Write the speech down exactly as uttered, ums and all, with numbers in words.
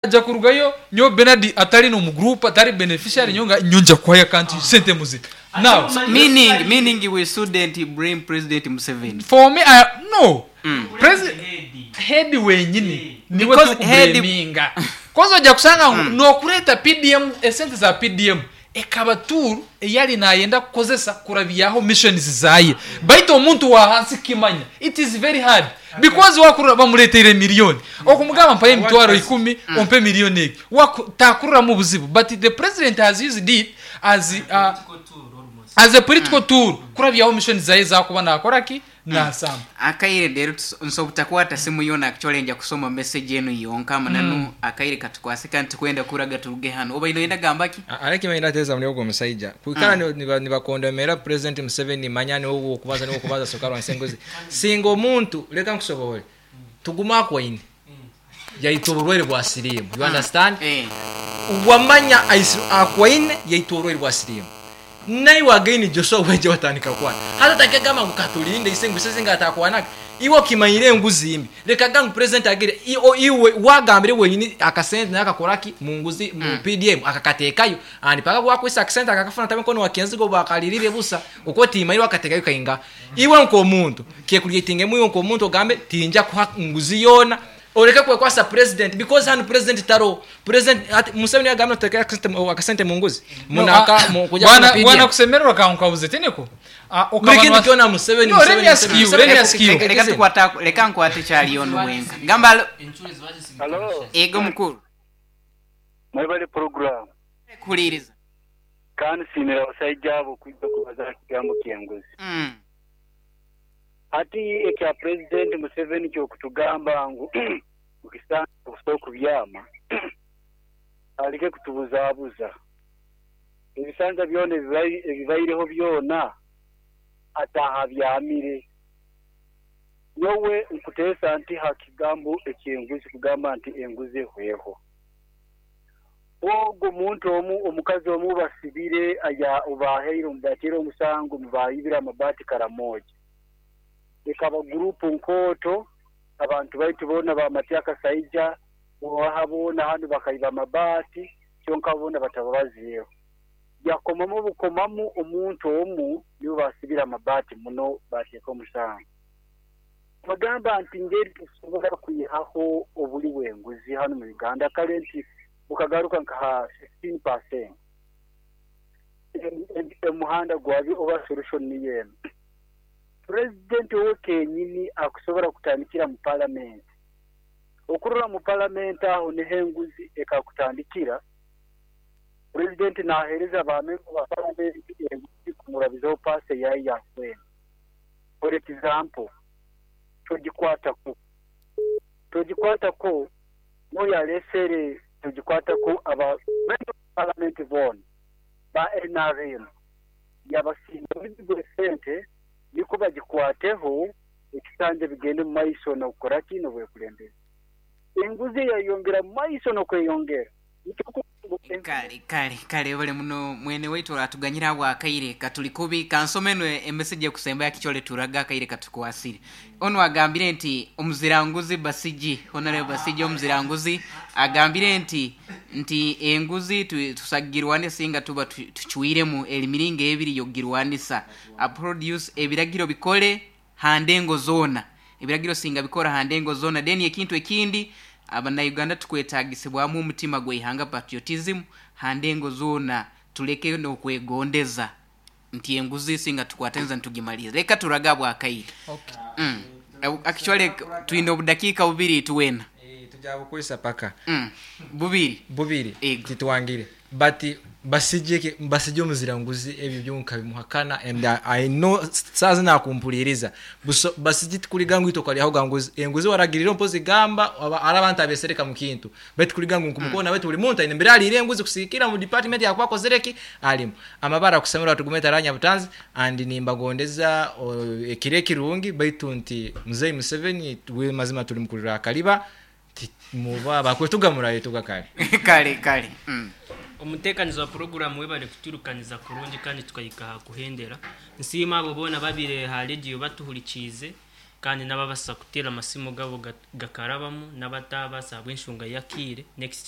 Ajja kurugayo nyo Bernard atari no mu group, atari beneficiary, nyo nga nyo nja kuhaya kanti sente muzika now. meaning meaning we shouldn't blame President Museveni. For me, I, no, president head wenyini niwe Because head- tukublaminga koza ojja kusanga ngu nokureeta P D M, esente za P D M ekaba tool eyali nayenda kukozesa kurabyaho missions zaye, baitu omuntu wa hansi kimanya it is very hard because wakurura bamuleteire miliyoni, okumugamba mpaye emitwaro ikumi, ompe miliyoni egi. Waku- takururamu obuzibu, but the president has used it as uh, as a political tool kurabyaho mission zaye zakuba nakoraki nasamba. Akaire rero tus- nsobutakwata simu yona, actually nja kusoma message enu yonka mananu akaire katukwase kandi tukwenda kuraga turuge hano. Oba ino yenda gambaki? Ariko imaine muri ogwo musajja kwikara nibakondomera President Museveni, manya niwe okubaza, niwe okubaza sokarwanisa enguzi. Singa omuntu, leka nkusobole, tuguma akwaine yaita oburwaire bwa siriimu, you understand? Eh. Wamanya akwaine yaita oburwaire bwa siriimu, naiwe againi Joshua weje watandika kwana hata takegamba ngu katulinde ise ngu singa atakwanaga. Iwe okimanyire enguzi mbi, leka gangu president agire i- o- iwe wagambire wenyini akasente naye akakoraki mu nguzi mu P D M akakateekayo and paka gwakwisa akasente akakafuna tabe nkono wakenzigo bakalirire busa uko timayire wakatekayo kainga. Iwe nk'omuntu kekuliatingemu, iwe nk'omuntu ogambe tinja kuha nguzi yona, oleke kwekwasa president because hano president taro president ati Museveni yagambye tuteeka akasente mu- akasente mu nguzi munaka mu kuja bwana ku P D M. Bwana kusemererwa kankabuze teneko. Ah, Buli kintu kyona Museveni, No, let me Museveni, ask you, Museveni. let me ask you. Leka- leka tukwata, leka nkwate kyaliyo nuwenka gamba alo. Halo, Ego mukuru. Mwebale program. Kuhuliriza. Kandi nsiimira abasajja abo okujja kubaza kigambo ky'enguzi. Mm. Hati ekya Pulezidenti Museveni kyokutugamba ngu mukisanja okusobola okubyama, aleke kutubuzaabuza. Ebisanja byona ebibai- ebibaireho byona atahabyamire. Nyowe nkuteesa nti ha kigambo ekyenguzi kugamba nti enguzi ehweho. Ogwo omuntu omu, omukazi omu basibire aya obaheire bateire omusango mubayibire amabaati Karamoja. Ekaba gurupu nkooto, abantu baitu boona bamatya akasaija owaha boona hanu bakaiba amabaati, kyonka boona batababazireho. Yakomamu bukomamu omuntu omu niwe basibire amabaati muno bateeka omusango. Bagamba nti ngeri tusobola kwihaho obuli bw'enguzi hano mu Uganda kale nti bukagaruka nka ha sixteen percent, omuhanda gwabyo oba solution niyo emu. Pulezidenti owe kenyini akusobola kutandikira mu palamenti, okurora mu palamenti aho niho enguzi ekakutandikira. Pulezidenti naheereza bamemba ba palamenti enguzi kumurabizaho paasi eyayi yakwenda. For example, togikwatako togikwatako n'oyo alesere togikwatako, aba memba ba palamenti boona ba N R M yabasinga bigwe sente niko bagikwateho ekisanja bigende mu maiso n'okukora ki n'obwekulembeze. Enguzi yayongera mu maiso n'okweyongera. Kale kale kale, bale muno mwene waitu oratuganyira awo akaire katuli kubi. Kansome eno emessage ekusemba yakikyole turaga akaire katukwasire. Ono agambire nti omuziranguzi Basigi, Honorable Basigi omuziranguzi agambire nti nti enguzi tu- tusagirwane singa tuba tu- tucwiremu emiringo ebiri yogirwanisa aproduce ebiragiro bikole handengo zona, ebiragiro singa bikora handengo zona. Then ekintu ekindi, abannayuganda tukwetagisibwamu omutima gweihanga, patriotism handengo zona, tuleke nokwegondeza nti enguzi singa tukwatenza ntugimaliza. Leka turaga bwakaire. Okay. mm. Actually twine obudakiika bubiri tuwena. Eh, tujja bukozesa paka. mm. bubiri. Bubiri. Ego. Titwangire but basije basije omuziranguzi ebyo byonka bimuhakana and I, I know saza nakumpuliriza. Buso- basije tikuliga ngu itokalyaho ganguzi enguzi waragirira mpozi gamba aba- ari abantu abesereka mu kintu baitu kuliga ngu nkumukona baitu buli muntu aine mbere alire enguzi kusikira mu department yakwakozereki alimu amabara kusemera tugume taranya butanzi and nimbagondeza o, ekiro ekirungi. Baitu nti muzei Museveni we mazima tuli mukulira akaliba ti- muba bakwetugamurayo tugakale. Kale kale mm. Omuteekanizi wa puroguramu, webale kuturukaniza kurungi kandi tukahika aha kuhendera. Nsiima abo boona babire ha rediyo batuhurikiize. Kandi n'ababasa kuteera amasimu gabo gakarabamu, n'abatabasa habw'enshonga y'akaire. Next.